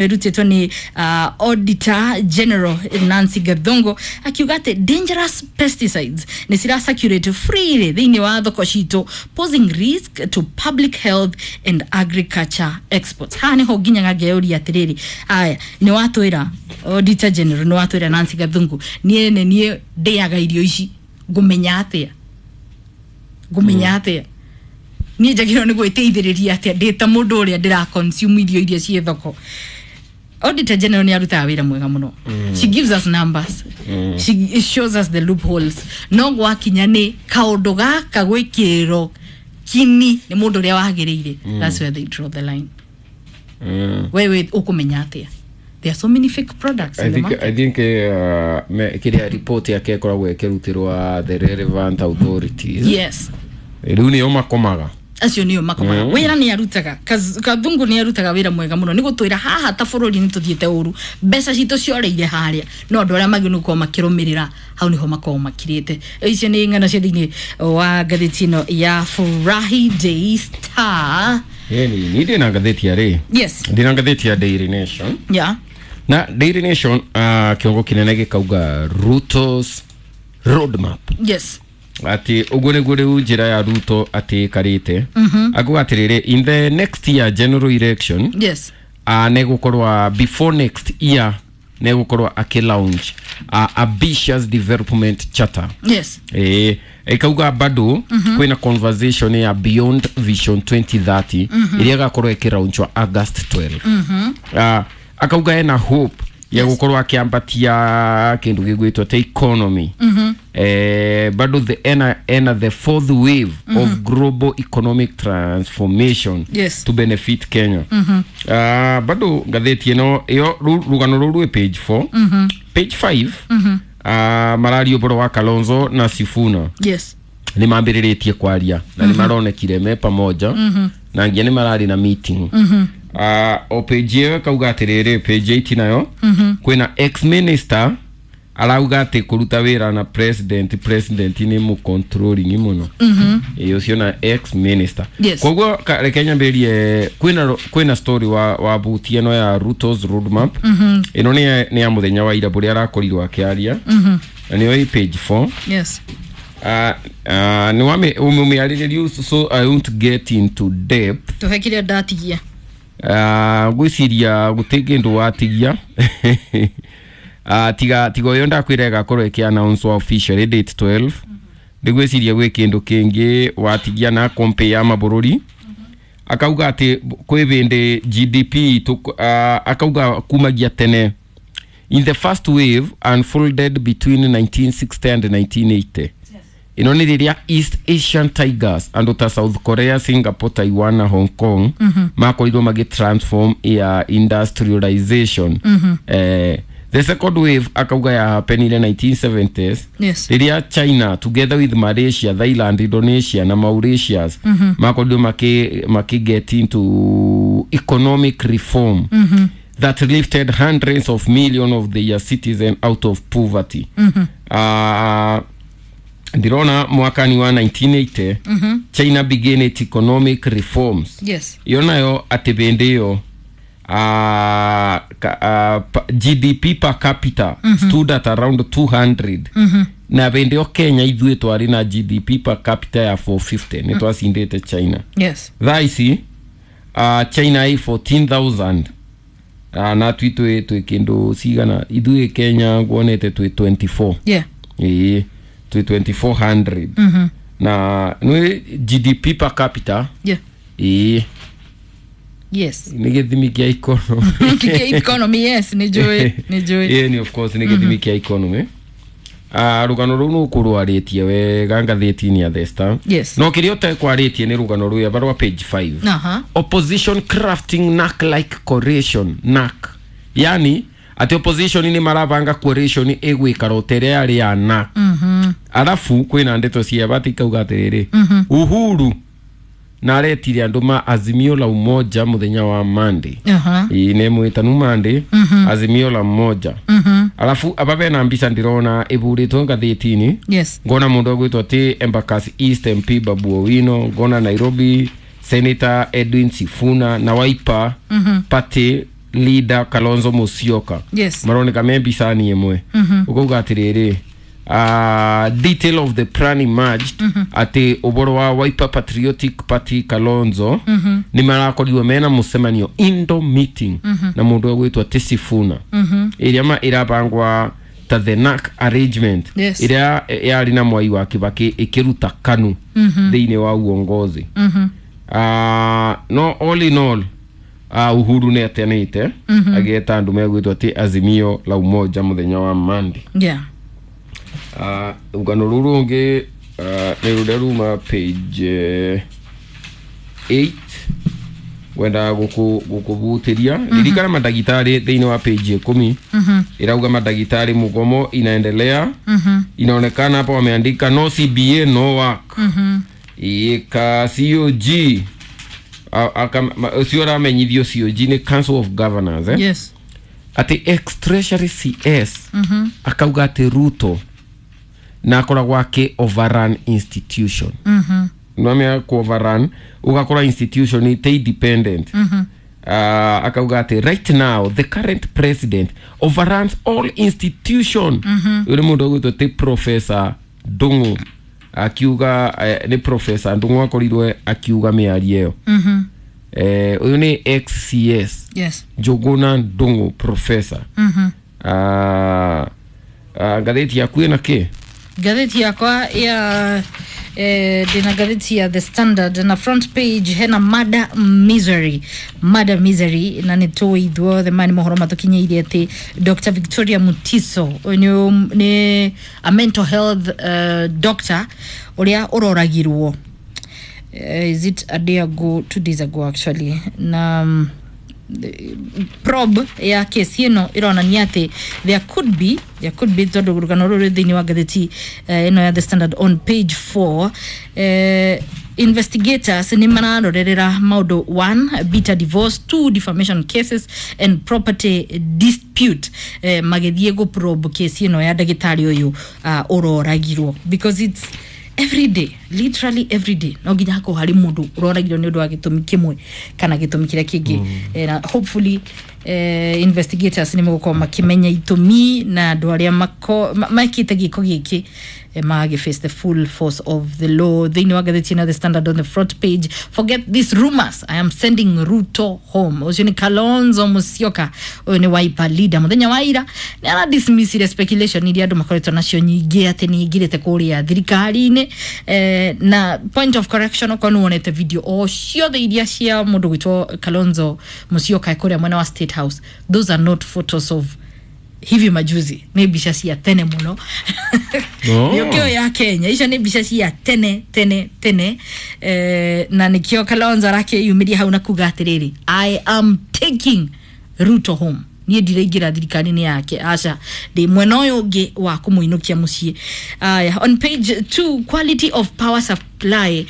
Ĩrutĩtwo nĩ Auditor General Nancy Gathungu, akiuga atĩ dangerous pesticides nĩ cira circulate freely thĩinĩ wa thoko citũ, posing risk to public health and agriculture exports. Haha nĩho nginyaga ngeyũria atĩrĩrĩ, aya nĩ watwĩra Auditor General, nĩ watwĩra Nancy Gathungu, niĩ nĩ niĩ ndĩaga irio ici, ngũmenya atĩa? Ngũmenya atĩa? Niĩ njagĩrĩirwo nĩ gwĩteithĩrĩria atĩa ndĩ ta mũndũ ũrĩa ndĩra consume irio iria ciĩ thoko? Auditor General nĩ arutaga wĩra mwega mũno. She gives us numbers, she shows us the loopholes, no gwakinya nĩ kaũndũ gaka gwĩkĩrĩrwo kini nĩ mũndũ ũrĩa wagĩrĩire, that's where they draw the line. Wewe ũkũmenya atĩa there are so many fake products I in the think market? I think kiria report yake ĩkoragwo ĩkĩrutĩrwa the relevant authorities. Rĩu nĩo makomaga. Acio nĩo makomaga. Wĩra nĩ arutaga. Kathungu nĩ arutaga wĩra mwega mũno nĩ gũtwĩra haha ta bũrũri nĩ tũthiĩte ũru, mbeca citũ cioreire harĩa, no andũ arĩa magĩrĩirwo nĩ gũkorwo makĩrũmĩrĩra hau nĩho makorwo makirĩte. Icio nĩ ng'ano cia thĩinĩ wa ngathĩti ĩno ya Friday Star. Ĩni ni ndĩna ngathĩti ya rĩ, ndĩna ngathĩti ya Daily Nation. Na Daily Nation, kĩongo kĩnene gĩkauga Ruto's roadmap, atĩ ũguo nĩguo rĩu njĩra ya Ruto atĩ ĩkarĩte. Akuga atĩrĩrĩ, in the next year general election, negũkorwa before next year negũkorwa akĩlaunch ambitious development charter. Ĩĩ, ĩkauga bado kwĩna conversation ya Beyond Vision 2030 ĩrĩa ĩgakorwo ĩkĩlaunchwa August 12. Akauga ena hope ya gũkorwo akĩambatia kĩndũ gĩgwĩtwo ta economy. Bado the ena the fourth wave of global economic transformation to benefit Kenya. Bado ngathĩti ĩno ĩyo rũgano rũu rwĩ page 4. Page 5, mararia ũhoro wa Kalonzo na Sifuna. Nĩ mambĩrĩrĩtie kwaria na nĩ maronekire me pamoja na nginya nĩ mararĩ na meeting. O page ĩyo ĩkauga atĩrĩrĩ, page 8 nayo kwĩna ex minister arauga atĩ kũruta wĩra na president nĩ mũ controlling mũno. Ĩĩ, ũcio na ex minister. Koguo reke nyambĩrĩrie, kwĩna story wa buti ĩno ya Ruto's roadmap. Ĩno nĩ ya mũthenya wa ira bũrĩa arakorirwo akĩaria, na nĩyo ĩ page 4. Nĩ wame umĩarĩrĩria, so I won't get into depth. Tũhe kĩrĩa ndatigia. Ngwĩciria gũtĩ kĩndũ watigia. Tiga ũyũ ndakwĩra ĩgakorwo ĩkĩ announce officially date 12. Ndigwĩciria gwĩ kĩndũ kĩngĩ watigia na compare ya mabũrũri. Akauga atĩ kwĩ hĩndĩ GDP akauga kumagia tene, in the first wave unfolded between 1960 and 1980, ĩno nĩ rĩrĩa East Asian Tigers, andũ ta South Korea, Singapore, Taiwan na Hong Kong, makorirwo magĩ transform ya industrialization. The second wave akauga ya happenire 1970s, rĩrĩa China together with Malaysia, Thailand, Indonesia na Mauritius makorirwo maki get into economic reform that lifted hundreds of millions of their citizens out of poverty. Ndirona mwakani wa 1980 China began its economic reforms. Iyo nayo atĩ hĩndĩ ĩyo GDP per capita stood at around 200, na hĩndĩ ĩyo Kenya ithuĩ twarĩ na GDP per capita ya 450. Nĩ twacindĩte China. Thaa ici China ĩ 14,000, na twi twĩ kĩndũ cigana? Ithuĩ Kenya nguonete twĩ 24. Ĩĩ, twĩ 2400 na nĩ GDP per capita. Ĩĩ. Nĩ gĩthimi kĩa economy. Kĩa economy, yes, nĩ njũĩ, nĩ njũĩ. Ĩĩ, nĩ of course nĩ gĩthimi kĩa economy. Rũgano rũu nũkũrwarĩtie wega ngathĩti-inĩ ya The Star. No kĩrĩa ũtekwarĩtie nĩ rũgano rũrĩa barwa page 5. Opposition crafting NARC like coalition. NARC, yani atĩ opposition nĩ marabanga coalition ĩgwĩkara o ta ĩrĩa yarĩ ya NARC. Arabu kwĩna ndeto cia bati ikauga atĩrĩrĩ, Uhuru na aretire andũ ma Azimio la Umoja mũthenya wa Monday. Ĩĩ, nĩ mwĩtanu Monday, Azimio la Umoja. Arabu aba bena mbica ndĩrona ĩburĩtwo ngathĩti-inĩ. Ngona mũndũ agwĩtwo atĩ Embakasi East MP Babu Owino, ngona Nairobi Senator Edwin Sifuna na Wiper Party. Leader Kalonzo Musyoka. Yes. Maroneka me mbicani ĩmwe ũkauga atĩrĩrĩ, detail of the plan emerged atĩ ũboro wa Wiper Patriotic Party Kalonzo nĩ marakorirwo mena mũcemanio indo meeting na mũndũ ũgwĩtwo Tisifuna ĩrĩa ma ĩrabangwa ta the NAC arrangement. Yes. Ĩrĩa yarĩ na Mwai wa Kibaki ĩkĩruta KANU thĩinĩ wa uongozi. No all in all, Uhuru nĩ atenĩte agĩeta andũ megwĩtwo atĩ Azimio la Umoja mũthenya wa Monday. Yeah. Rũgano rũu rũngĩ nĩ rũrĩa ruma page 8 wendaga gũkũbutĩria ririkana mandagĩtarĩ thĩinĩ wa page 10 ĩrauga mandagĩtarĩ mũgomo inaendelea. Inaonekana hapa wameandika no CBA no work ika COG ũcio ũramenyithio COG nĩ Council of Governors, eh? Yes. Atĩ ex treasury CS akauga atĩ Ruto na akoragwo akĩ overrun institution. Nwamea ku overrun ugakora institution ite independent. Akauga atĩ right now the current president overruns all institution. Ũyũ nĩ mũndũ ũgwĩtwo ti Professor Ndung'u akiuga, nĩ Professor Ndung'u akorirwe akiuga mĩario ĩyo. Ũyũ nĩ ex CS. Yes. Njuguna Ndung'u professor. Ngathĩti yaku ĩna kĩ? Ngathĩti yakwa ya ndĩna ngathĩti ya The Standard na front page hena mada misery, mada misery, na nĩ tũĩ ithuothe maya nĩ mohoro matũkinyĩire atĩ Dr Victoria Mutiso ũyũ nĩ a mental health doctor ũrĩa ũroragirwo, is it a day ago, 2 days ago actually, na probe ya kesi ĩno ĩronania atĩ there could be tondũ rũgano rũrũ rwĩ thĩinĩ wa ngathĩti ĩno ya The Standard on page 4. Investigators nĩ mararorerera maũndũ: one, bitter divorce; two, defamation cases and property dispute, magĩthiĩ gũ probe kesi ĩno ya ndagĩtarĩ ũyũ ũroragirwo, because it's every day, literally every day no nginya hakorwo harĩ mũndũ ũroragirwo nĩ ũndũ wa gĩtũmi kĩmwe kana gĩtũmi kĩrĩa kĩngĩ. Na hopefully investigators nĩ megũkorwo makĩmenya itũmi na andũ arĩa mekĩte gĩko gĩkĩ magĩ face the full force of the law. Thĩinĩ wa ngathĩti ĩno The Standard on the front page, "Forget these rumors, I am sending Ruto home." Ũcio nĩ Kalonzo Musyoka, ũyũ nĩ Wiper leader. Mũthenya wa ira nĩ aradismissire speculation iria andũ makoretwo nacio nyingĩ atĩ nĩ aingĩrĩte kũrĩa thirikari-inĩ. Na point of correction, okorwo nĩ wonete video o ciothe iria cia mũndũ gwĩtwo Kalonzo Musyoka kũrĩa mwena wa State House, those are not photos of hivi majuzi, nĩ mbica cia tene mũno. Oh. Nĩ ũkĩo ya Kenya, icio nĩ mbica cia tene tene tene. Na nĩkĩo Kalonzo arakĩyumĩria hau na kuga atĩrĩrĩ, "I am taking Ruto home." Niĩ ndiraingĩra thirikari-inĩ yake, aca, ndĩ mwena ũyũ ũngĩ wa kũmũinũkia mũciĩ. Aya, on page 2, quality of power supply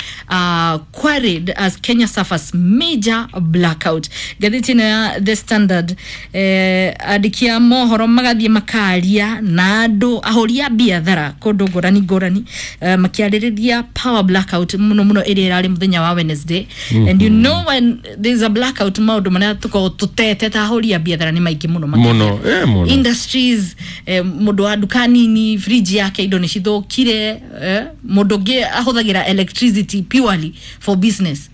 queried as Kenya suffers major blackout. Ngathĩti ĩno ya The Standard, andĩki a mohoro magathiĩ makaria na andũ ahũri a biathara kũndũ ngũrani ngũrani, makĩarĩrĩria power blackout mũno mũno ĩrĩa ĩrarĩ mũthenya wa Wednesday. And you know when there's a blackout, maũndũ marĩa tũkoragwo tũtete ta ahũri a biathara nĩ maingĩ mũno makĩria. Mũno, mũno. Industries, mũndũ wa nduka nini fridge yake indo nĩ cithũkire, mũndũ ũngĩ ahũthagĩra electricity purely for business,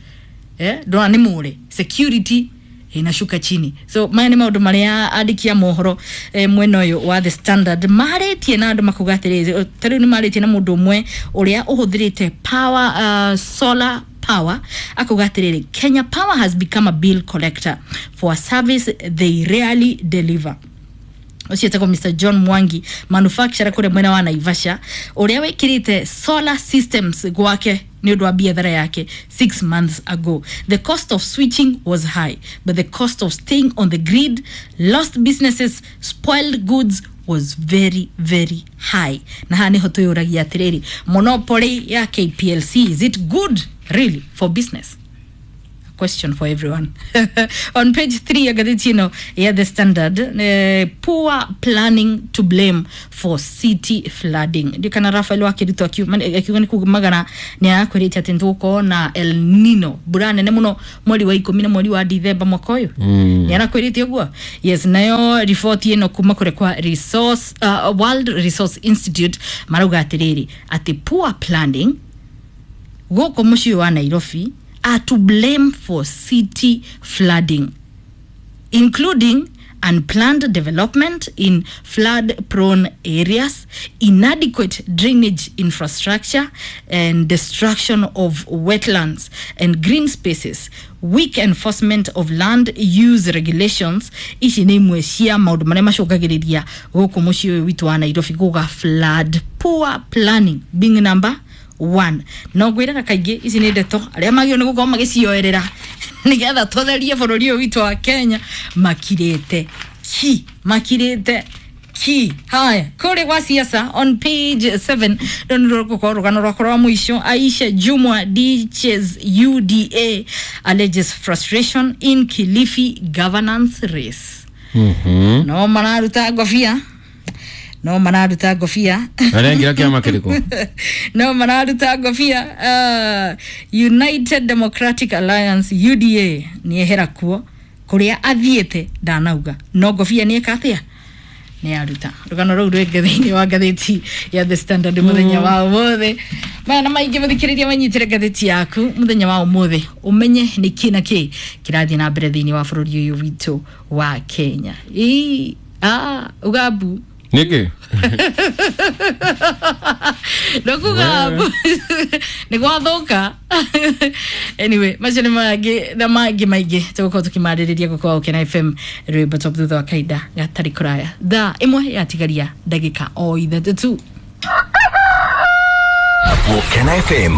ndona nĩ mũre security inashuka chini. So maya nĩ maũndũ marĩa andĩki a mohoro mwena ũyũ wa The Standard marĩtie na andũ makuga atĩrĩrĩ, ta rĩu nĩ marĩtie na mũndũ ũmwe ũrĩa ũhũthĩrĩte power, solar power, akauga atĩrĩrĩ, "Kenya Power has become a bill collector for a service they rarely deliver." Ũcio etagwo Mr John Mwangi, manufacturer kũrĩa mwena wa Naivasha, ũrĩa wĩkĩrĩte solar systems gwake nĩ ũndũ wa biathara yake 6 months ago. "The cost of switching was high, but the cost of staying on the grid, lost businesses, spoiled goods, was very very high." Na haha nĩho twĩyũragia atĩrĩrĩ, monopoly ya KPLC, is it good really for business? Question for everyone. On page 3 ya ngathĩti ĩno ya The Standard, poor planning to blame for city flooding. Ndikana Rafael Wakiruto akiuga nĩ kumagana nĩ arakwĩrĩte atĩ nĩtũgũkorwo na El Nino, mbura nene mũno mweri wa ikũmi na mweri wa Dithemba mwaka ũyũ. Nĩ arakwĩrĩte ũguo. Yes, nayo riboti ĩno kuma kũrĩa kwa World Resource Institute marauga atĩrĩrĩ atĩ poor planning gũkũ mũciĩ wa Nairobi are to blame for city flooding, including unplanned development in flood-prone areas, inadequate drainage infrastructure, and destruction of wetlands and green spaces, weak enforcement of land use regulations. Ici nĩ imwe cia maũndũ marĩa macũngagĩrĩria gũkũ mũciĩ ũyũ witũ wa Nairobi gũga flood, poor planning being number one. No ngwĩraga kaingĩ ici nĩ ndeto arĩa magĩrĩirwo nĩ gũkorwo magĩcioerera nĩgetha tũtherie bũrũri ũyũ witũ wa Kenya makirĩte ki, makirĩte ki. Haya, kũrĩ gwa siasa on page 7 rũu nĩ rũgũkorwo rũgano rwakwa rwa mũico. Aisha Jumwa ditches UDA, alleges frustration in Kilifi governance race. No mararuta ngobia, no mararuta ngobia. Arengĩra kĩama kĩrĩkũ? No mararuta ngobia. United Democratic Alliance, UDA, nĩ ehera kuo kũrĩa athiĩte ndanauga, no ngobia nĩ eka atĩa, nĩ aruta. Rũgano rũu rwĩngĩ thĩinĩ wa ngathĩti ya The Standard mũthenya wa ũmũthĩ. Maya na maingĩ mũthikĩrĩria, manyitĩre ngathĩti yaku mũthenya wa ũmũthĩ ũmenye nĩ kĩ na kĩ kĩrathiĩ na mbere thĩinĩ wa bũrũri ũyũ witũ wa Kenya. Ĩ, ah, ugambu. Nĩkĩ? Ndokuga nä gwathoka. Anyway, macio nä mangä na mangä maingä tågåkorwo tå kä marä rä ria gå Gukena FM rwĩmbo top thutha wa kahinda gatarĩ kũraya. Thaa 1 yatigaria ndagĩka o 3 tu. Gukena FM.